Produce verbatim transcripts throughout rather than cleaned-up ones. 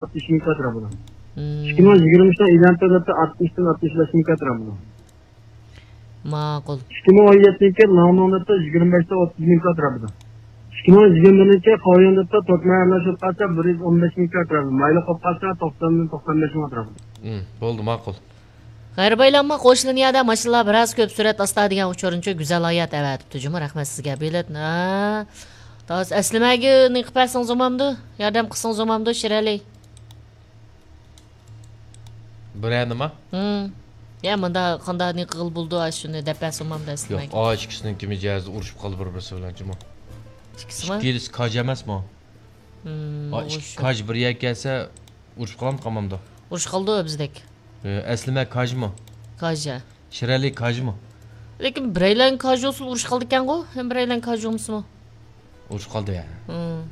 ئاتمىش مىڭ كاترا بولىدۇ. مم. ئىككى مىڭ يىگىرمە ئۈچتىن ئىلان تۆلەپتۇ، ئاتمىشتىن ئاتمىش بەش مىڭ كاترا بولىدۇ. ماقۇل. ئىككى مىڭ ئون يەتتىنچى يىل ناڭنىڭ دەپتۇ، يىگىرمە بەشتە ئوتتۇز مىڭ كاترا بولىدۇ. ئىككى مىڭ يىگىرمە بىرىنچى يىل قاۋيان دەپتۇ، توت مەيەرلەش بولۇپ قالسا، بىر يۈز ئون بەش مىڭ كاترا بولىدۇ. مايلىق بولۇپ قالسا، توقساندىن توقسان بەش مىڭ ئەتراپىدا. مم، بولدى، ماقۇل. غەيرىي بايلانما قوشۇلۇن يەردە ماشىنىلار بىراز كۆپ سۈرئەت ئاستا دېگەن ئۇچۇرنچۇ گۈزەل ھايات ئەۋەتىپتۇ جۇمۇ، رەھمەت سىزگە بېلەت. ھە. تاس ئەسلىمەگە نېقىپ بەرسىڭىز بولمامدۇ؟ ياردەم قىلسىڭىز بولمامدۇ، شىرئەلى؟ بىرەر نېمە؟ ھىم. يا، مۇندا قانداق نېقىغىلى بولىدۇ، ئاشۇنى دەپ بەرسە بولمامدۇ يوق، ئەسلىمەگە؟ ئا ئىككىسىنىڭكى مىجەزى ئۇرۇشۇپ قالدى بىر-بىرسى بىلەن جۇمۇ. ئىككىسىمۇ؟ ئىككىلىسى كاج ئەمەسمۇ؟ ھىم، ئا، ئىككى ئۇرۇشۇپ. كاج بىر يەرگە كەلسە، ئۇرۇشۇپ قالامدۇ، قالمامدۇ؟ ئۇرۇشۇپ قالىدۇ بىزدەك. ئە، ئەسلىمە كاجمۇ؟ كاج، ھە. شىرئەلى كاجمۇ؟ لېكىن بىرەيلەن كاج بولسىلا ئۇرۇشۇپ قالىدىكەنغۇ، ھەم بىرەيلەن كاج بولمىسىمۇ؟ ئۇرۇشۇپ قالدى، ھە. ھىم.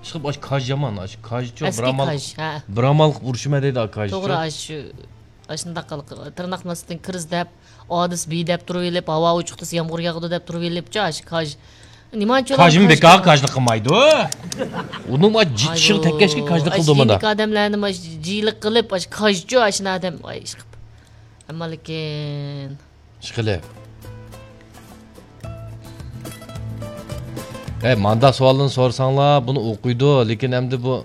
ئىشقىلىپ، ئاشۇ كاج يامان، ئاشۇ كاجچۇ، ئەسلى بىرامال، كاج، ھە. بىرامال قىلىپ ئۇرۇشىمەن دەيدۇ، ئا كاجچۇ. توغرا، ئاشۇ، ئاشۇنداق قىلىق، تىرناق ماستىن كىرىز دەپ، ئادىس بى دەپ تۇرۇۋېلىپ، ھاۋا ئوچۇقتىسى يامغۇر ياغىدۇ دەپ تۇرۇۋېلىپچۇ، ئاشۇ كاج. نېمانچۇ كاجمۇ كاج بىكار كاجلىق قىلمايدۇ. ئۇنىڭ ما جىت ئىشىغا تەگكەچكە كاجلىق قىلىدۇ مانا. ئاشۇ ئادەملەرنى ما جىلىق قىلىپ، ئاشۇ كاجچۇ، ئاشۇ ئادەم، ئاي، ئىشقىپ. ئەمما لېكىن. ئىشقىلىپ. ئەي، مانداق سوئالنى سورىساڭلار، بۇنى ئوقۇيدۇ، لېكىن ئەمدى بۇ،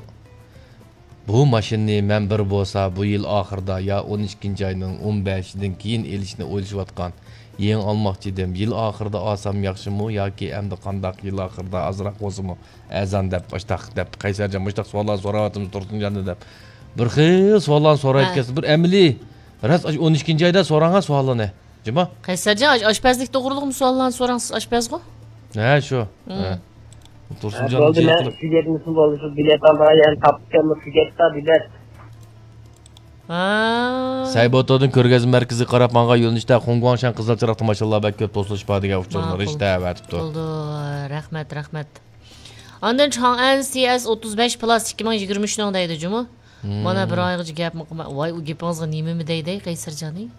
بۇ ماشىنىنى مەن بىر بولسا بۇ يىل ئاخىرىدا يا ئون ئىككىنچى ئاينىڭ ئون بەشىدىن كېيىن ئېلىشنى ئويلىشىۋاتقان. يېڭى ئالماقچى ئىدىم. يىل ئاخىرىدا ئالسام ياخشىمۇ ياكى ئەمدى قانداق، يىل ئاخىرىدا ئازراق بولسىمۇ ئەرزان دەپ، مۇشتاق دەپ، قەيسەرجان مۇشتاق سوئاللار سوراۋاتىمىز تۇرسۇنجاندىن دەپ. بىر خىل سوئاللارنى سوراۋاتىسىز. بىر ئەمەلىي، راست ئاشۇ ئون ئىككىنچى ئايدا سوراڭا سوئاللارنى. جۇمۇ؟ قەيسەرجان، ئاش-، ئاشپەزلىك توغرۇلۇقمۇ سوئاللارنى سوراڭ، سىز ئاشپەزغۇ؟ ھە، شۇ. ھە. تۇرسۇنجان بولدى، مەن سىزگە نېمىسى بولدى، شۇ بېلەت ئالمىغان يەرنى تاپتىكەنمۇ، سىزگە بېلەت. ھا. سەيبوتودىن كۆرگەزمە مەركىزىگە قاراپ ماڭغان يۆنىلىشتە خۇڭگۇاڭشەن قىزىل چىراغ تاماشىلار بەك كۆپ توسۇلۇشۇپ بار دېگەن ئۇچۇرنى ماقۇل. رىشتە ئەۋەتىپتۇ. بولدى، رەھمەت، رەھمەت. ئاندىن چاڭئەن سى ئەس ئوتتۇز بەش پلاس ئىككى مىڭ يىگىرمە ئۈچنىڭ دەيدۇ جۇمۇ. مانا بىر ئايغىچە گەپمۇ قىلماي. ۋاي، ئۇ گېپىڭىزغا نېمىمۇ دەيدۇ، قەيسەرجانى؟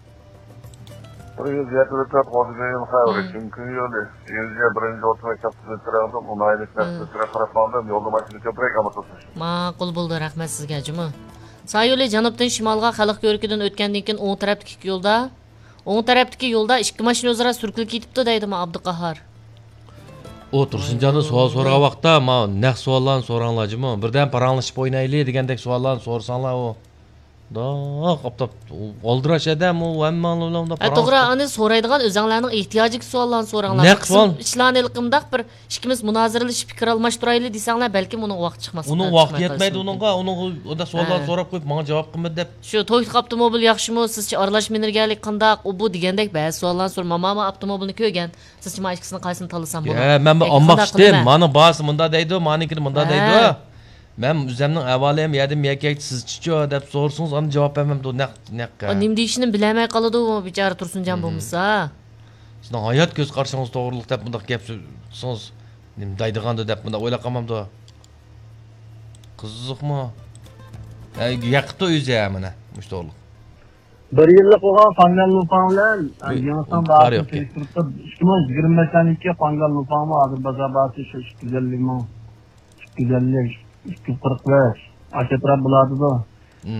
بىر يۈز يەتتە تۆت غوزىگىيىن خەۋىرى، ھىم. چۈنكى يولى، يۈز بىرىنچى ئوتتۇز مەكتەپ خىزمەتچىلىرىڭىزدىن ئۇنايلىق ھىم. نەرسىلەر قاراپ ماڭدىم، يولدا ماشىنا كۆپرەك ئەمەس. ماقۇل بولدى، رەھمەت سىزگە جۇمۇ. سايولى جەنۇبتىن شىمالغا خەلق كۆركىدىن ئۆتكەندىن كېيىن ئوڭ تەرەپتىكى ئىككى يولدا، ئوڭ تەرەپتىكى يولدا ئىككى ماشىنا ئۆزئارا سۈركىلىپ كېتىپتۇ دەيدۇ ما ئابدۇقاھار. ئۇ تۇرسۇنجاننى سوئال سورىغان ۋاقىتتا، ما نەق سوئاللارنى سوراڭلار جۇمۇ. بىردەم پاراڭلىشىپ ئوينايلى دېگەندەك سوئاللارنى سورىساڭلار ئۇ. دوق ئاپتاپ ئالدىراش ئادەم ئۇ، ھەممە ئالدىراش ھە، توغرا، ئۇنى سورايدىغان ئۆزەڭلارنىڭ ئېھتىياجىدىكى سوئاللارنى سوراڭلار. نەق سوئال. ئىشلارنى ھېلىقى مۇنداق بىر ئىككىمىز مۇنازىرىلىشىپ پىكىر ئالماشتۇرايلى دېسەڭلار، بەلكىم ئۇنىڭغا ۋاقىت چىقماس. ئۇنىڭ ۋاقتى يەتمەيدۇ ئۇنىڭغا، ئۇنىڭغا ئۇنداق سوئاللارنى ھە. سوراپ قويۇپ، ماڭا جاۋاب قىلمىدى دەپ. شۇ تويوتا ئاپتوموبىل ياخشىمۇ، سىزچە ئارىلاش مىنېرگىيەلىك قانداق، ئۇ بۇ دېگەندەك بەزى سوئاللارنى سورىما. ماما ئاپتوموبىلنى كۆرگەن، سىزچە ما ئىككىسىنىڭ قايسىنى تاللىسام بولىدۇ؟ ھە، مەن بىر ئالماقچى ئىدىم. مانا باھاسى مۇنداق دەيدۇ، مانىڭكىنى مۇنداق ھە. دەيدۇ. مەن ئۆزەمنىڭ ئەھۋالىم يەردىن يەكەكتە سىزچىچۇ دەپ سورىسىڭىز، ئاندىن جاۋاب بەرمەمدۇ، نەق، نەق. ئۇ نېمە دېيىشىنى بىلەلمەي قالىدۇ، ئۇ بىچارە تۇرسۇنجان بولمىسا. سىزنىڭ ھايات كۆز قارىشىڭىز توغرۇلۇق دەپ مۇنداق گەپ قىلسىڭىز، نېمە دەيدىغاندۇ دەپ مۇنداق ئويلاپ قالمامدۇ؟ قىزىقمۇ؟ ھە، يېقىپتۇ ئۆزى، ھە، مانا، مۇشۇ توغرۇلۇق. بىر يىللىق بولغان قانگان لۇفاڭ بىلەن، ئۇي، يېڭىسان ئۇي، باھاسىنى ئىككى مىڭ يىگىرمە بەشتىن كېيىن قانگان لۇفاڭمۇ ھازىر بازار باھاسى شۇ ئىككى يۈز ئەللىك مىڭ، ئىككى يۈز ئەللىك، ئىككى يۈز قىرىق بەش، ئاشۇ ئەتراپ بولاتىدۇ.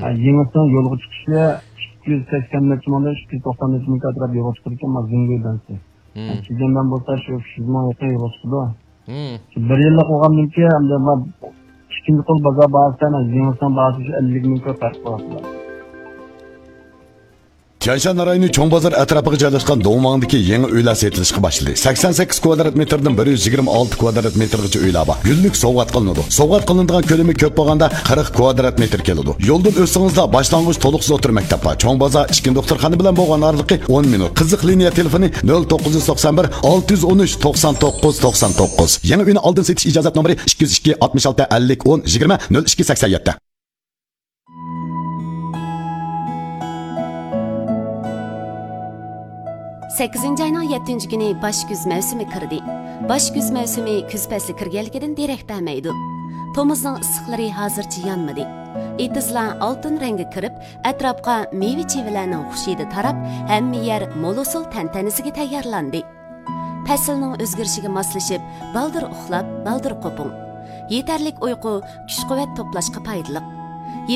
ھە، يېڭىسىنىڭ يولغا چىقىشى ئىككى يۈز سەكسەن نەچچە مىڭدىن ئىككى يۈز توقسان نەچچە مىڭ ئەتراپ يولغا چىقىدىكەن، ما زېڭگۇي بەنسى. چىجەندەن بولسا شۇ ئۈچ يۈز مىڭ يېقىن يولغا چىقىدۇ. بىر يىللىق بولغاندىن كېيىن، ئەمدى ما ئىككىنچى قول بازار باھاسى، يېڭىسىنىڭ باھاسى شۇ ئەللىك مىڭ كۆپ پەرق قىلىۋاتىدۇ. تيەنشان رايونى چوڭ بازار ئەتراپىغا جايلاشقان دۇڭۋاڭدىكى يېڭى ئۆيلەر سېتىلىشقا باشلىدى. سەكسەن سەككىز كۋادرات مېتىردىن بىر يۈز يىگىرمە ئالتە كۋادرات مېتىرغىچە ئۆيلەر بار. گۈللۈك سوۋغات قىلىنىدۇ. سوۋغات قىلىنىدىغان كۆلىمى كۆپ بولغاندا قىرىق كۋادرات مېتىر كېلىدۇ. يولدىن ئۆتسىڭىزلا باشلانغۇچ تولۇقسىز ئوتتۇرا مەكتەپ بار. چوڭ بازار ئىچكى دوختۇرخانا بىلەن بولغان ئارىلىقى ئون مىنۇت. قىزىق لىنىيە تېلېفونى نۆل توققۇز يۈز توقسان بىر، ئالتە يۈز ئون ئۈچ، توقسان توققۇز، توقسان توققۇز. يېڭى ئۆينى ئالدىن سېتىش ئىجازەت نومۇرى ئىككى يۈز ئىككى، ئاتمىش ئالتە، ئەللىك، ئون، يىگىرمە، نۆل ئىككى، سەكسەن يەتتە. سەككىزىنچى ئاينىڭ يەتتىنچى كۈنى باش كۈز مەۋسۇمى كىردى. باش كۈز مەۋسۇمى كۈز پەسلى كىرگەنلىكىدىن دېرەك بەرمەيدۇ. تومۇزنىڭ ئىسسىقلىرى ھازىرچە يانمىدى. ئېتىزلار ئالتۇن رەڭگە كىرىپ، ئەتراپقا مېۋە-چېۋىلەرنىڭ خۇشىدى تاراپ، ھەممە يەر مول ھوسۇل تەنتەنىسىگە تەييارلاندى. پەسىلنىڭ ئۆزگىرىشىگە ماسلىشىپ، بالدۇر ئۇخلاپ، بالدۇر قوپۇڭ. يېتەرلىك ئۇيقۇ كۈچ-قۇۋۋەت توپلاشقا پايدىلىق.